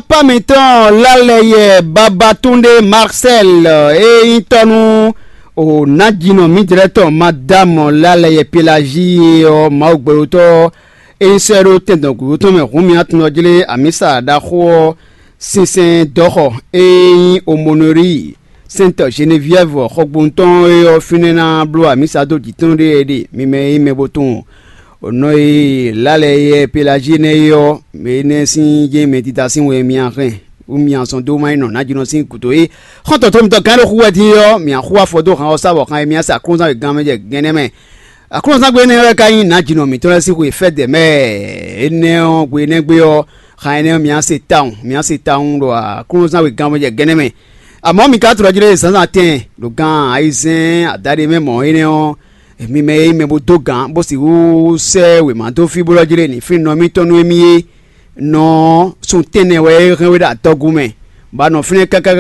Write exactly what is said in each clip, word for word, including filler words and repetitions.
Pá mǐtɔn Lálɛyɛ Babatunde Marcel, e nyí tɔ́ nú o nǎjínɔ mǐdɛ́tɔn Madame Lálɛyɛ Pelagie ɔ́, Mawu gbɛɖotɔ́ e nyí sɛ́ ɖó tɛndɔngbǔɖó tɔn mɛ hǔn mì atun ɔ́ jlé amǐsa ɖaxó ɔ́ sinsɛn dɔ̌xɔ e nyí Omonori Sainte Geneviève xɔgbónu tɔn é ɔ́, fínɛ́ ná bló amǐsa dó jǐ tɔn ɖé e ɖe mi mɛ e nyí mɛ bo tunwun nɔ e Lálɛyɛ Pelagie nɛ́ é ɔ́, mɛ énɛ́ sín jɛ́n mɛdídá sín wɛ mi a hɛn bú mi a sɔn dó má nyí nɔ nǎjínɔ sín gǔdo é. Xɔ́ntɔn tó mitɔn gán ɖo xú wɛ din é ɔ́, mǐ a xú afɔ dó han ɔ́ sá bɔ han e mǐ a sa Aklúnɔzán wěgán mɛ jɛ gɛ́nɛ́ mɛ. Aklúnɔzán gbe énɛ́ wɛ ka nyí nǎjínɔ mǐtɔn lɛ́ɛ sín xwe fɛ́dɛ mɛ. Énɛ́ ɔ́, gbe énɛ́ gbe ɔ́, han énɛ́ ɔ́, mǐ a se tawun, mǐ a se tawun ɖo Aklúnɔzán wěgán mɛ jɛ gɛ́nɛ́ mɛ. Amɔ̌, mi ka tlɔ jí lé zǎnzǎn tɛn ɖo gan ayizɛ́n adaɖé mɛ mɔ̌ énɛ́ ɔ́, mi mɛ e nyí mɛ bó dó gǎn, bó sixú sɛ́ wěma dó fí bó ɖɔ jí lé nǐ flín nɔ émítɔn nú émí é. Nɔ ɔ́, sun tɛ́nnɛ wɛ é hɛn we ɖo adɔgun mɛ, bɔ a nɔ fínɛ́ káká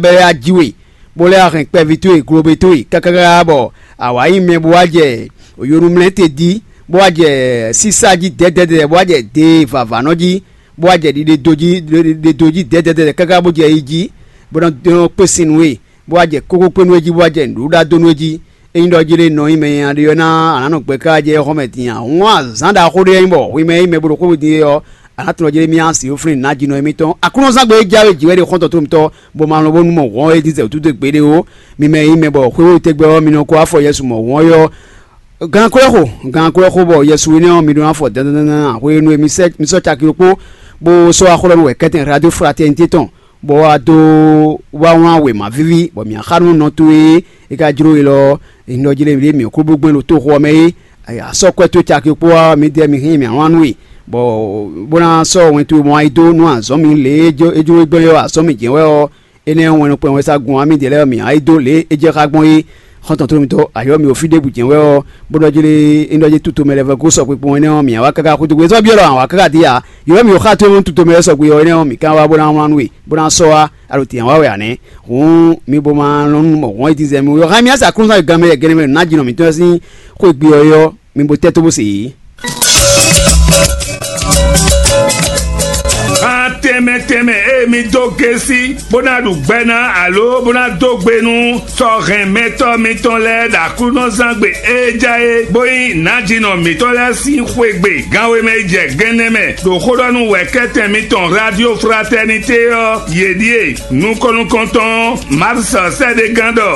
bɛ́ lɛ́ wá jí we, bó lɛ́ wá hɛn kpɛví towe, globe towe káká bɔ a wǎ nyí mɛ bó wá jɛ yonumlɛ́ te jí, bó wá jɛ sísá jí dɛ̌dɛ̌dɛ̌, bó wá jɛ de vǎvǎnɔ jí, bó wá jɛ ɖiɖe dó jí ɖiɖe dó jí dɛ̌dɛ̌dɛ̌ káká bó jɛ yi jí, bó nɔ dɔn kpé sin nú we, bó wá jɛ kókó kpé nú we jí, bó wá jɛ nǔɖuɖu ɖá dó nú we jí. Ényí ɖɔ jí lé nɔ nyí mɛ nyanya ɖé ɔ́ ná a nǎ nɔ gbɛ ká jɛ xɔ mɛ din ǎ. Hǔn azǎn ɖaxó ɖé nyí bɔ hwi mɛ nyí mɛ bo ɖo xwé din é ɔ́, a nǎ tunwun jí lé mì a si ó flín nǎ jí nɔ émítɔn. Aklúnɔzán gbe e jáwé jǐ wɛ ɖe xɔ́ntɔn tó mitɔn, bɔ ma lɔn bónú mɔ hwɔn e dín zɛ wútu dó gbeɖé ó. Mi mɛ nyí mɛ bɔ xwé wú tɛgbɛ ɔ́, mi nɔ ko afɔ Yɛsu mɔ hwɔn ɔ́. Gan kwɛ́ xo, gan kwɛ́ xo bɔ Yɛsu énɛ́ ɔ́, mi ɖó ná fɔ dandandan hwenu e mi sɔ́ caki ɖokpó, bó sɔ́ axɔ́ ɖɔ nú wɛ kɛ́tɛn Radio Fraternité tɔn, bɔ wá dó wá wlán wěma víví, bɔ mǐ xá nú nɔ towe e ka jló we lɔ, è nɔ jlé ɖě mǐ kú bó gbɛn ɖo toxo ɔ́ mɛ é. A sɔ́ kwɛ́ towe caki kpó ɔ́, midɛɛ mi hɛn mǐ wlán nú we, bɔ bó ná sɔ́ wɛn towe mɔ wá yi dó nú azɔ̌ mi lě e é jló we gbɔn é ɔ́, azɔ̌ mi jɛ́n wɛ ɔ́, énɛ́ ɔ́ wɛn nukplɔ́n wɛ sá gun wá midɛɛ lɛ́ɛ ɔ́, mǐ wá yi dó lě e é jɛ xá gbɔn é. Xɔ́ntɔn tó mitɔ́, ayɔ́ mi o fí ɖěbǔ jɛ́n wɛ ɔ́, bó ɖɔ jí lé é ɖɔ jí tutó mɛ lɛ́ɛ vɛ́ gosɔ kpekpɔn énɛ́ ɔ́, mǐ wá káká xúdó gbé sɔ́ byɔ́ ɖɔ awǎ káká dín ǎ. Yǒ mì o xá tó tutó mɛ lɛ́ɛ sɔgbe ɔ́ énɛ́ ɔ́, mǐ ká wá bó ná wlán nú we, bó ná sɔ́ wá, a ɖo tǐn wá wɛ ǎ nɛ́. Hǔn mi bo ma lɔn nú mɔ hɔn e dín zɛ mi wɛ xá mì á sa kúnzán ganmɛ yɛ gɛnɛ mɛ ná jinɔ mǐtɔn sín xwé gbe ɔ́ é ɔ́, mi bo tɛ́ tó bó se yě. Xá tɛnmɛ tɛnmɛ e mi dó gésí, bó ná ɖu gbɛ ná alo bó ná dó gbe nú sɔ́ hɛn mɛtɔ́ mitɔn lɛ́ɛ ɖo Aklúnɔzán gbe e ja é, bó nyí nǎjínɔ mǐtɔn lɛ́ɛ sín xwé gbe ganwe mɛ yi jɛ gɛnɛ mɛ ɖo xó ɖɔ nú wɛ̌kɛ́tɛn mitɔn Radio Fraternité ɔ́, yě ɖíe: nukɔn nukɔntɔn Marcel sɛ́ɖégán ɖɔ